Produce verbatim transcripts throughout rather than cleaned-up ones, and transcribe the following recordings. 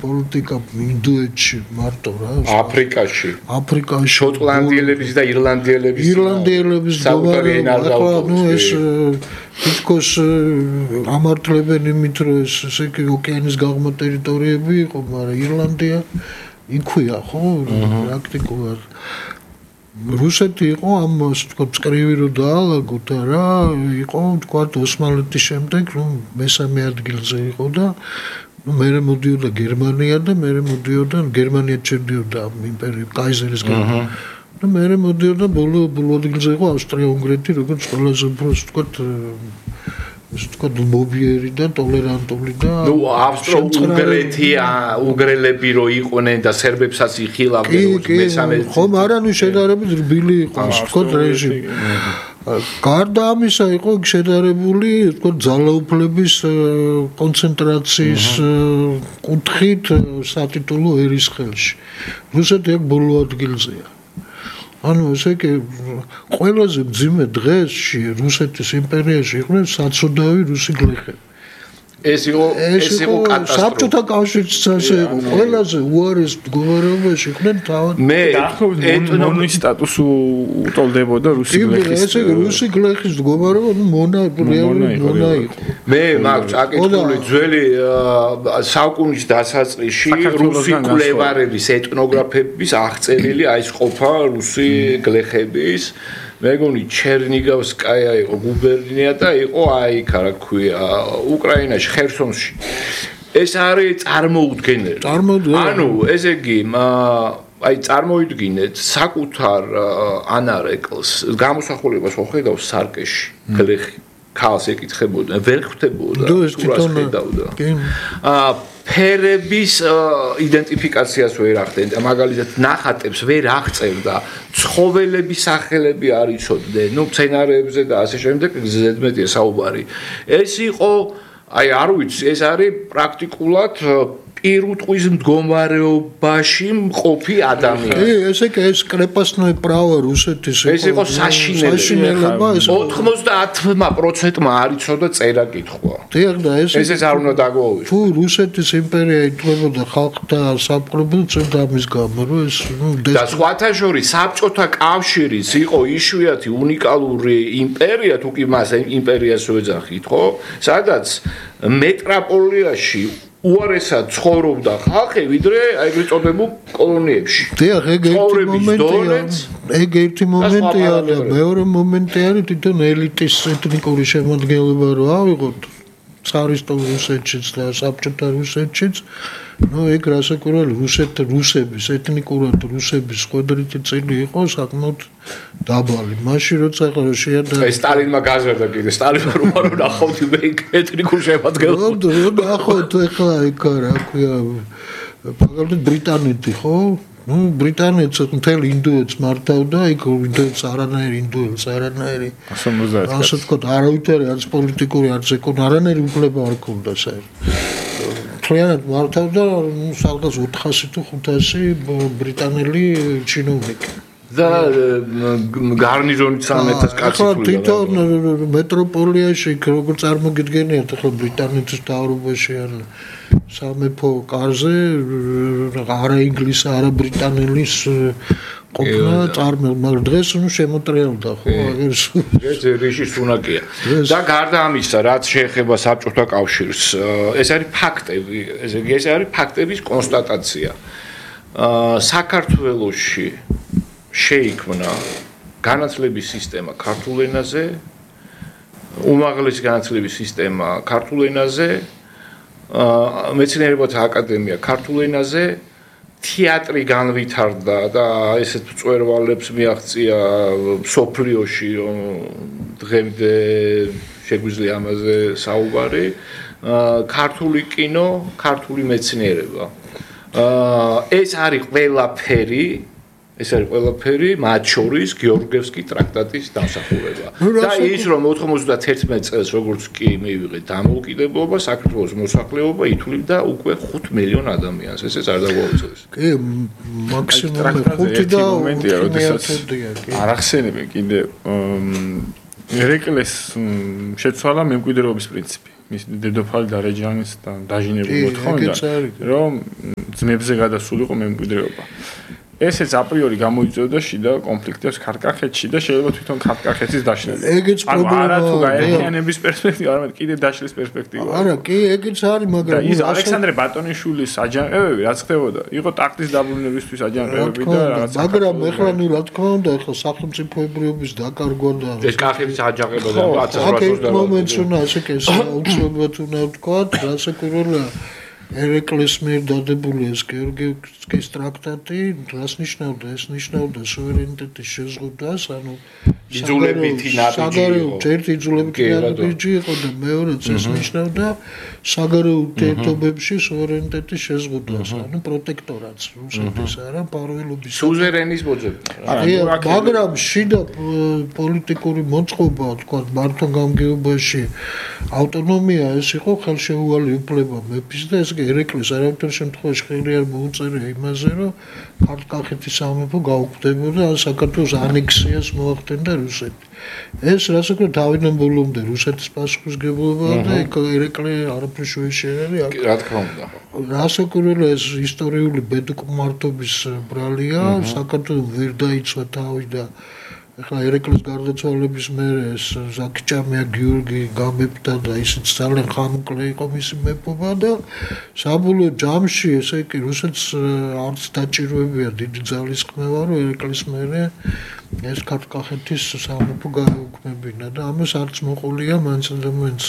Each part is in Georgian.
პოლიტიკა ინდოეთში მარტო რა აფრიკაში აფრიკაში შოტლანდიელების და ირლანდიელების ირლანდიელების საუბარია ნუ ეს თითქოს ამართლებენ იმით რომ ეს ესე იგი ოკეანის გაღმა ტერიტორიები იყო მაგრამ ირლანდია იქვეა ხო პრაქტიკულად რუსეთი იყო ამ თქვა წკრივი რო დაალაგოთ რა იყო თქვა ოსმალეთის შემდეგ რომ მესამე ადგილზე იყო და მერე მოდიოდა გერმანია და მერე მოდიოდა გერმანია ჩერდიოდა იმპერიის კაიზერის გამო და მერე მოდიოდა ბოლო ბოლო ადგილზე იყო ავსტრია-უნგრეთი როგორც ყველაზე უფრო ვთქვათ ისე თქვა მობიერი და ტოლერანტული და ნუ ავსტრო-უნგრეთი უნგრელები რო იყვნენ და სერბებსაც იხილავდნენ მესამე ხომ არა ნუ შედარებით რბილი იყო თქვა რეჟიმი გარდა ამისა იყო შედარებული თქო ძალაუფლების კონცენტრაციის კუთხით სატიტულო ერისხელში რუსეთი აქ ბოლო ადგილზეა ანუ ესე იგი ყველაზე მძიმე დღესში რუსეთის იმპერიაში იყვნენ საცოდავი რუსი გლეხები ეს იყო ეს იყო საბჭოთა კავშირის წესზე იყო ყველაზე უარეს მდგომარეობაში იყვნენ თავად მე ეთნომის სტატუსი უტოლდებოდა რუსი გლეხის ესე იგი რუსი გლეხის მდგომარეობა მონა რეალური მონა იყო მე მაქვს აკითხული ძველი საუკუნის დასაწყისში რუსი კვლევარების ეთნოგრაფების აღწერილი აი ეს ყოფა რუსი გლეხების მეგონი ჩერნიგოვსკაია იყო გუბერნია და იყო აი იქ რა ქვია უკრაინაში ხერსონში ეს არის წარმოუდგენელი ანუ ესე იგი აი წარმოიდგინეთ საკუთარ ანარეკლს გამოსახულებას ხედავს სარკეში გლეხი ქალს ეკითხებოდა ვერ ხვდებოდა სურას ხედავდა აა ფერების იდენტიფიკაციას ვერ ახდენდა მაგალითად ნახატებს ვერ აღწერდა ცხოველების სახელები არ იცოდნენ ნუ მცენარეებზე და ასე შემდეგ ზედმეტია საუბარი ეს იყო აი არ ვიცი ეს არის პრაქტიკულად პირუტყვის მდგომარეობაში მყოფი ადამიანი. კი, ესე კი ეს კრეპასნოე პრავა რუსეთის ეს იყო საშინელება. ოცდაათ პროცენტმა არ იცოდა წერა კითხვა. დიახ და ეს ესეც არ უნდა დაგვაუვიწყოს. თუ რუსეთის იმპერია ითვლებოდა ხალხთა სამყაროებრივ წევდამის გამო, რომ ეს ნუ და სხვათა შორის საბჭოთა კავშირის იყო იშვიათი უნიკალური იმპერია, თუ კი მას იმპერიას ვეძახით, ხო? სადაც მეტროპოლიაში უარესად ცხოვრობდა ხალხი, ვიდრე აი ეგრეთ წოდებულ კოლონიებში. დიახ, ეგ ერთი მომენტია. ეგ ერთი მომენტია და მეორე მომენტი არის თვითონ ელიტის ეთნიკური შემადგენლობა რო ავიღოთ цаრისტულ რუსეთშიც და საბჭოთა რუსეთშიც, ну ეგ რასაკვირველი რუსეთ რუსების ეთნიკურად რუსების ხვედრითი წილი იყო საკმაოდ დაბალი. მაშინ როცა ახლა შეადარდა აი სტალინმა გაზარდა კიდე სტალინმა რომ არ ნახავთ მე ეთნიკურ შემადგენლობას. რო ნახავთ ახლა იქ რა ქვია მაგალითად ბრიტანეთი ხო? ну ბრიტანეთს მთელ ინდოეთს მართავდა, იქ ინდოეთს არანაირი ინდოელს არანაირი ასე ვთქვათ, არავითარი არც პოლიტიკური არც ეკონომიკური არანაირი უფლება არ ჰქონდა საერთოდ. მთლიანად მართავდა სადღაც ოთხასი თუ ხუთასი ბრიტანელი ჩინოვნიკი. და გარნიზონით სამეთას კაცი თულა. თვითონ მეტროპოლიაში როგორ წარმოგიდგენიათ ახლა ბრიტანეთის დაარბოში ან სამეფო კარზე არა ინგლისი, არა ბრიტანელის ყოფნა წარმო, მაგრამ დღეს ნუ შემოტრიალდა ხო, აგერ ეს რიშის უნაკია. და გარდა ამისა, რაც შეეხება საბჭოთა კავშირს, ეს არის ფაქტები, ესე იგი ეს არის ფაქტების კონსტატაცია. საქართველოში შეიქმნა განათლების სისტემა ქართულ ენაზე, უმაღლესი განათლების სისტემა ქართულ ენაზე, მეცნიერებათა აკადემია ქართულ ენაზე, თეატრი განვითარდა და ესეთ მწვერვალებს მიაღწია მსოფლიოში, დღემდე შეგვიძლია ამაზე საუბარი, ქართული კინო, ქართული მეცნიერება. ეს არის ყველაფერი ეს არის ყველაფერი, მათ შორის გეორგიევსკის ტრაქტატის დამსახურება. და ის რომ ოთხმოცდაათი წელს როგორც კი მივიღეთ დამოუკიდებლობა, საქართველოს მოსახლეობა ითვლიდა უკვე ხუთ მილიონ ადამიანს. ესეც არ დაგვაუწყდეს. კი, მაქსიმუმ ხუთი და მომენტია, როდესაც არ ახსენებენ კიდე ერეკლეს შეცვალა მემკვიდრეობის პრინციპი. მის დედოფალი და რეჯანის დაჟინებული მოთხოვნა, რომ ძმებზე გადასულიყო მემკვიდრეობა. ესეც აპრიორი გამოიწვევდა შიდა კონფლიქტებს ქართკახეთში და შეიძლება თვითონ ქართკახეთის დაშლილი. ეგეც პრობლემაა. არა თუ გაერთიანების პერსპექტივა, არამედ კიდე დაშლის პერსპექტივა. არა, კი, ეგეც არის, მაგრამ ის ალექსანდრე ბატონიშვილის აჯანყებები რაც ხდებოდა, იყო ტაქტის დაბრუნებისთვის აჯანყებები და რაღაც. მაგრამ ეხლა ნუ რა თქმა უნდა, ეხლა სახელმწიფოებრიობის დაკარგვა და ეს კახეთის აჯანყება და ათას ათასი მომენტს უნდა ასე კი საუბრობთ უნდა ვთქვა, რასაკურველია ერეკლეს მიერ დადებული ეს გეორგიევსკის ტრაქტატი, რას ნიშნავდა? ეს ნიშნავდა სუვერენიტეტის შეზღუდვას, ანუ იძულებითი ნაბიჯი იყო. ერთი იძულებითი ნაბიჯი იყო და მეორეც ეს ნიშნავდა საგარეო ურთიერთობებში სუვერენიტეტის შეზღუდვას, ანუ პროტექტორატს, რუსეთის არა, პარველობის სუზერენის მოძებნა. მაგრამ შიდა პოლიტიკური მოწყობა, თქვა მართო გამგეობაში ავტონომია ეს იყო ხელშეუვალი უფლება მეფის და ეს ერეკლეს არავითარ შემთხვევაში ხელი არ მოუწერია იმაზე, რომ ქართკახეთის სამეფო გაუქმდებოდა ან საქართველოს ანექსიას მოახდენდა რუსეთი. ეს რასაკვირველია თავიდან ბოლომდე რუსეთის პასუხისმგებლობა და ერეკლე არაფერს შეეშერა. რა თქმა უნდა. რასაკვირველია ეს ისტორიული ბედკმართობის ბრალია, საქართველოს ვერ დაიცვა თავი და ეხლა ერეკლეს გარდაცვალების მერე ეს ზაქიჭამია გიორგი გამეფდა და ისიც ძალიან ხანმოკლე იყო მისი მეფობა და საბოლოო ჯამში ესე იგი რუსეთს არც დაჭიროებია დიდი ძალისხმევა რომ ერეკლეს მერე ეს ქართკახეთის სამეფო გაეუქმებინა და ამას არც მოყოლია მაინც და მაინც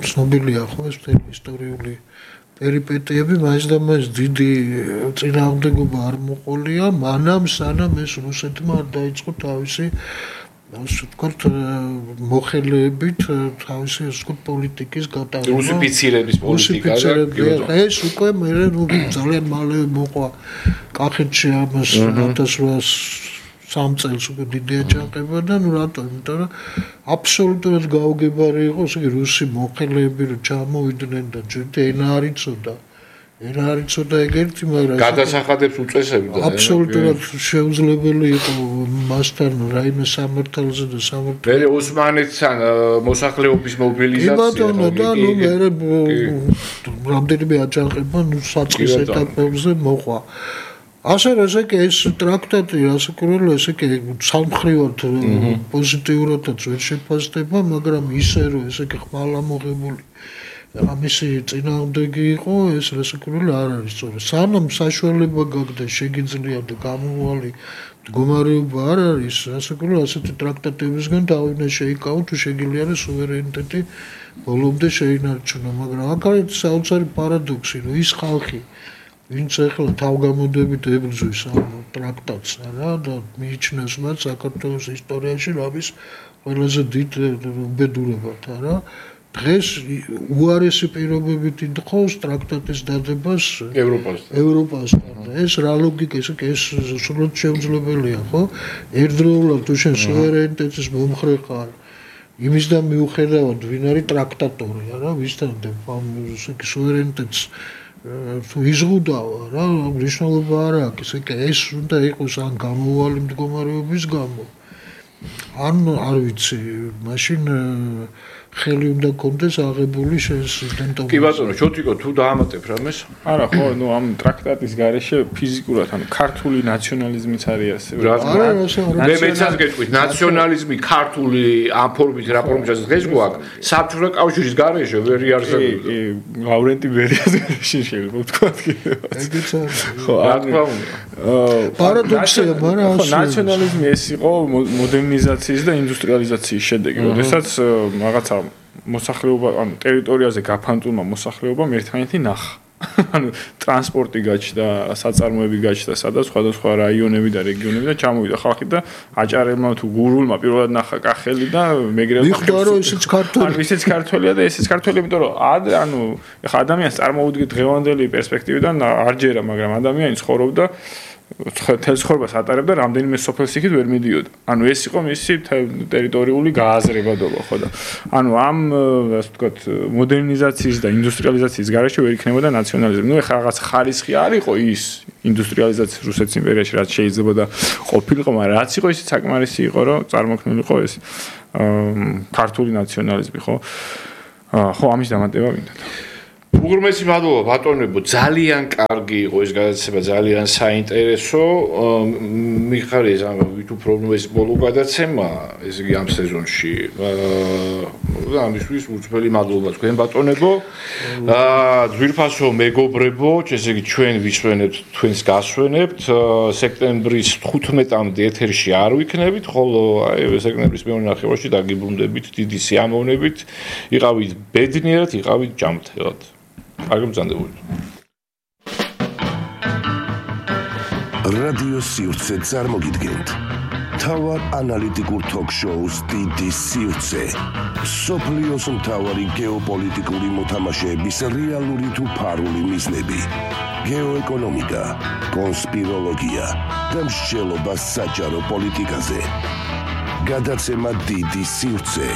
ცნობილია ხო ეს ისტორიული პერიპეტიები მაინც და მაინც დიდი წინააღმდეგობა არ მოყოლია მანამ სანამ ეს რუსეთმა არ დაიწყო თავისი ასე ვთქვათ მოხელეებით თავისი ასე ვთქვათ პოლიტიკის გატარება რუსიფიცირების პოლიტიკა და ეს უკვე მე ძალიან მალე მოყვა კახეთში ამას ათას რვაას სამ წელს უკვე დიდი აჯანყება და ნუ რატო იმიტომ რომ აბსოლუტურად გაუგებარი იყო ესე იგი რუსი მოხელეები რომ ჩამოვიდნენ და ჯერ ენა არ იცოდა ენა არ იცოდა ეგერთი მაგრამ გადასახადებს უწესებდა აბსოლუტურად შეუძლებელი იყო მასთან რაიმე სამართალზე და სამართალზე მე ოსმანეთთან მოსახლეობის მობილიზაცია კი ბატონო და ნუ მე რამდენიმე აჯანყება ნუ საწყის ეტაპებზე მოყვა ასე რომ ესე კი ეს ტრაქტატი რასაკვირველია ესე კი სამხრივად პოზიტიურადაც ვერ შეფასდება მაგრამ ისე რომ ესე კი ხმალამოღებული ამისი წინააღმდეგი იყო ეს რასაკვირველია არ არის სწორი სანამ საშუალება გაქვს და შეგიძლია და გამოვალი მდგომარეობა არ არის რასაკვირველია ასეთი ტრაქტატებისგან დავინა შეიკავო თუ შეგიძლია რომ სუვერენიტეტი ბოლომდე შეინარჩუნო მაგრამ აქ არის საოცარი პარადოქსი რომ ის ხალხი ვინც ახლა თავგამოდებით ებრძვის ამ ტრაქტატს რა და მიიჩნევს მათ საქართველოს ისტორიაში რამის ყველაზე დიდ უბედურებად რა დღეს უარესი პირობებით იდხოს ტრაქტატის დადებას ევროპასთან ევროპასთან და ეს რა ლოგიკა ეს ეს სრულად შეუძლებელია ხო ერთდროულად თუ შენ სუვერენიტეტის მომხრე ხარ იმისგან მიუხედავად ვინ არის ტრაქტატორი რა ვისთან ამ სუვერენიტეტს თუ იზღუდავა რა მნიშვნელობა არ აქვს ესე კი ეს უნდა იყოს ან გამოვალი მდგომარეობის გამო ან არ ვიცი მაშინ ხელი უნდა კონდეს აღებული შესიდენტობა. კი ბატონო, შოთიკო, თუ დაამატებ რამეს? არა, ხო, ნუ ამ ტრაქტატის გარეშე ფიზიკურად, ანუ ქართული ნაციონალიზმიც არის ასევე. რა თქმა უნდა. მე მეცაც გეტყვით, ნაციონალიზმი ქართული ამ ფორმით რა ფორმითაც დღეს გვაქვს, საბჭოთა კავშირის გარეშე ვერ იარსებოდა. კი, ლავრენტი ბერიას გარეშე შეიძლება ვთქვათ კიდევ. ეგეც არის. ხო, რა თქმა უნდა. პარადოქსია, მაგრამ ხო, ნაციონალიზმი ეს იყო მოდერნიზაციის და ინდუსტრიალიზაციის შედეგი, როდესაც რაღაცა მოსახლეობა, ანუ ტერიტორიაზე გაფანტულმა მოსახლეობამ ერთმანეთი ნახა. ანუ ტრანსპორტი გაჩნდა, საწარმოები გაჩნდა, სადაც სხვადასხვა რაიონები და რეგიონები და ჩამოვიდა ხალხი და აჭარებმა თუ გურულმა პირველად ნახა კახელი და მეგრელმა მიხვდა რომ ისიც ქართველი. ანუ ისიც ქართველია და ესეც ქართველია, იმიტომ რომ ანუ ეხა ადამიანს წარმოუდგეთ დღევანდელი პერსპექტივიდან არ ჯერა, მაგრამ ადამიანი ცხოვრობდა თელს ხორბას ატარებდა რამდენიმე სოფელს იქით ვერ მიდიოდა. ანუ ეს იყო მისი ტერიტორიული გააზრებადობა, ხო და. ანუ ამ ასე ვთქვათ მოდერნიზაციის და ინდუსტრიალიზაციის გარეშე ვერ იქნებოდა ნაციონალიზმი. ნუ ეხლა რაღაც ხარისხი არ იყო ის ინდუსტრიალიზაციის რუსეთის იმპერიაში რაც შეიძლება და ყოფილიყო, მაგრამ რაც იყო ისიც საკმარისი იყო, რომ წარმოქმნილიყო ეს ქართული ნაციონალიზმი, ხო? ხო, ამის დამატება მინდა. უღრმესი მადლობა ბატონებო, ძალიან კარგი იყო ეს გადაცემა, ძალიან საინტერესო. მიხარია ზამბა ვით უფრო ეს ბოლო გადაცემა, ესე იგი ამ სეზონში. აა ამისთვის უცბელი მადლობა თქვენ ბატონებო. აა ძვირფასო მეგობრებო, ესე იგი ჩვენ ვისვენებთ, თქვენს გასვენებთ. სექტემბრის თხუთმეტამდე ეთერში არ ვიქნებით, ხოლო აი სექტემბრის მეორე ნახევარში დაგიბრუნდებით დიდი სიამოვნებით. იყავით ბედნიერად, იყავით ჯანმრთელად. აგმზანდებული. რადიო სივრცე წარმოგიდგენთ. თავარ ანალიტიკურ თოქ-შოუს დიდი სივრცე. სოფლიოს მთავარი გეოპოლიტიკური მოთამაშეების რეალური თუ ფარული მიზნები. გეოეკონომიკა, კონსპიროლოგია და მსჯელობა საჯარო პოლიტიკაზე. გადაცემა დიდი სივრცე.